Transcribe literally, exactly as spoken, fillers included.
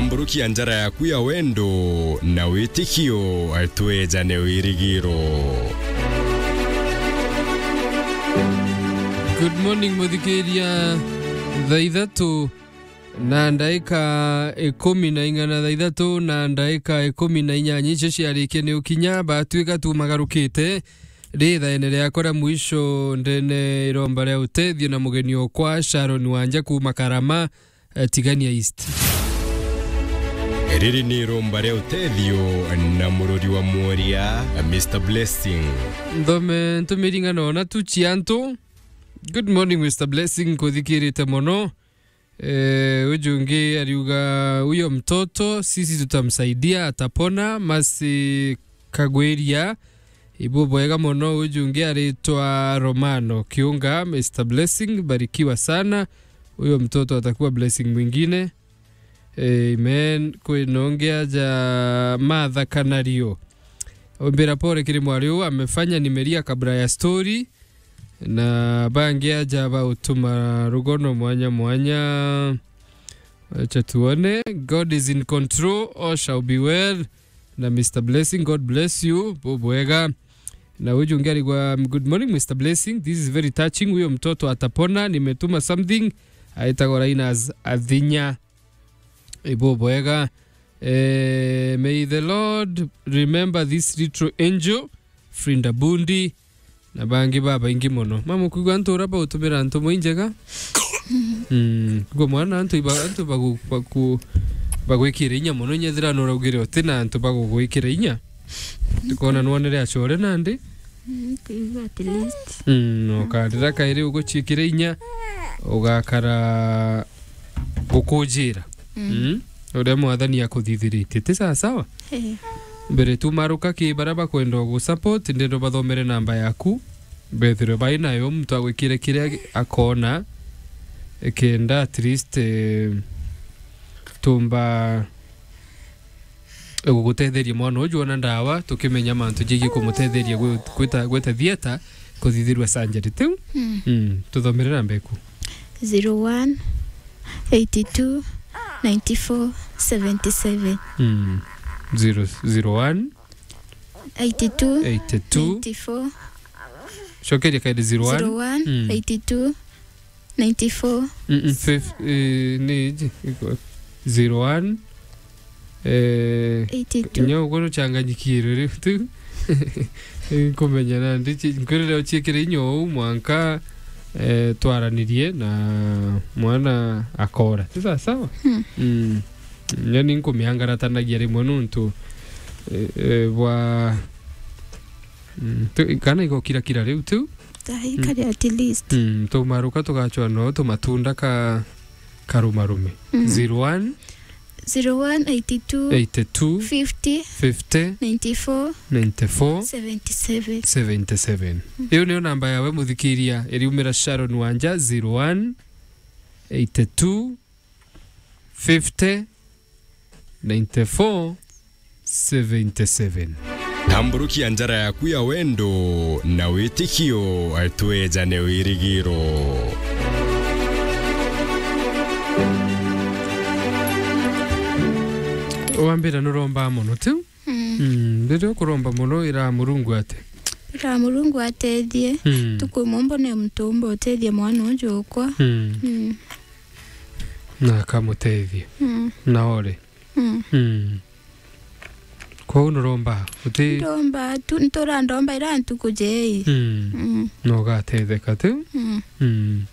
Mburukia njara yaku ya wendo na witikio, twejane wirigiro. Good morning, muthikiria. Thaa ithatu na ndaika ikumi na ing'ana, thaa ithatu na ndaika ikumi na inyanya icio ciarikia ni ukinya, batwika tumagarukite rithaene riakwa ria mwisho ndene iromba ria utethio na mugeni okwa Sharon Wanja kuma Karama, eh, Tigania East. Riri ni iromba ria utethio na murori wa mworia, Mister Blessing. Nthome ntumiri ing'ana ona tu cia antu. Good morning, Mister Blessing, nkuthikirite mono. Eh, uju ungi ariuga, "Huyo mtoto sisi tutamsaidia, atapona." Masi Kagwiria, ibubwega mono. Uju ungi aritwa Romano Kiunga, Mister Blessing, barikiwa sana. Huyo mtoto atakuwa blessing mwingine. Amen. Kwina ungi aja Martha Kanario. Ombira pole kiri mwari uu amefanya, nimelia kabla ya story. Na bangi aja bautuma rugono mwanya mwanya. Acha tuone. God is in control. All shall be well. Na Mister Blessing, God bless you. Bubwega. Na uju ungi arigwa, "Good morning, Mister Blessing. This is very touching. Huyo mtoto atapona. Nimetuma something." Aitagwa Linus Athinya. Ibubwega. Eh, may the Lord remember this little angel, Frinda Bundi, na bangi babaingi mono. Mama, kwigua antu uria bautumira ntumo injega. Mm, kwigua mwana antu iba-, antu bagu-, baku-, bagwikira inya mono, nyethira nuraugire uti na antu bagugwikira inya. Tukona nwonere acore nandi. Mm, kwigua at least. Mm, ukarira kairi uguciikira inya, ugakara ukujira. Mm. Mm, uria Mwathani akuthithiritie. Ti sawa sawa? Eh. Mbere tu maruka ki baria bakwenda ugu support, ndendo bathomere namba yaku. Bethirwe bai nayo, muntu agwikire kiria akona, kenda at least, eh, tumba gugutetheria mwana uju ona ndawa, tukimenya mantu jegii kumutetheria gwi-, gwita, gwita theater, kuthithirua surgery. Tiu? Mm. Mm. Tuthomere namba iku. Zero one, eighty two, ninety four, seventy seven. Mm. Zero, zero one. Eighty two, eighty two. Ninety four. Cokeria kairi zero one. Zero one, mm, eighty two, ninety four. Mm, mm, fif-, eh, ni iji, iko, zero one, eh, eighty two. Nyo uguo nuchanganyikirwe riu tu. Nkumenya nandi chi-, nkwirire uchiikire inya uu mwanka, eh, twaranirie na mwana akora. Ti sawa sawa? Hmm. Mm. Nyo ni nkumiangaratanagia rimwe nuntu, eh, eh, bwa, mm, tu-, kana igokirakira riu tu. Tahi kari at least. Mm, tumaruka tugachwa no tumatunda ka karumarume. Mm. Zero one. Zero one eighty two. Eighty two. Fifty. Fifty. Ninety four. Ninety four. Seventy seven. Seventy seven. Mm. Iyo niyo namba yawe muthikiria iriumira Sharon Wanja, zero one eighty two fifty ninety four seventy seven. Tamburukia njara yaku ya wendo na witikio, twejane wirigiro. Wambira nuromba mono tu? Mm. Mm, riria ukuromba mono, ira Murungu ate? Ira Murungu atethie. Mm. Tukwimwe mbone muntu umba utethia mwana uju ukwa. Mm. Mm. Na akamutethia. Mm. Na ore. Mm. Mm. Kwou nuromba, uti- Ndomba tu, ntura ndomba ira ntuku jei. Mm. Mm. Na ugatetheka tu? Mm. Mm.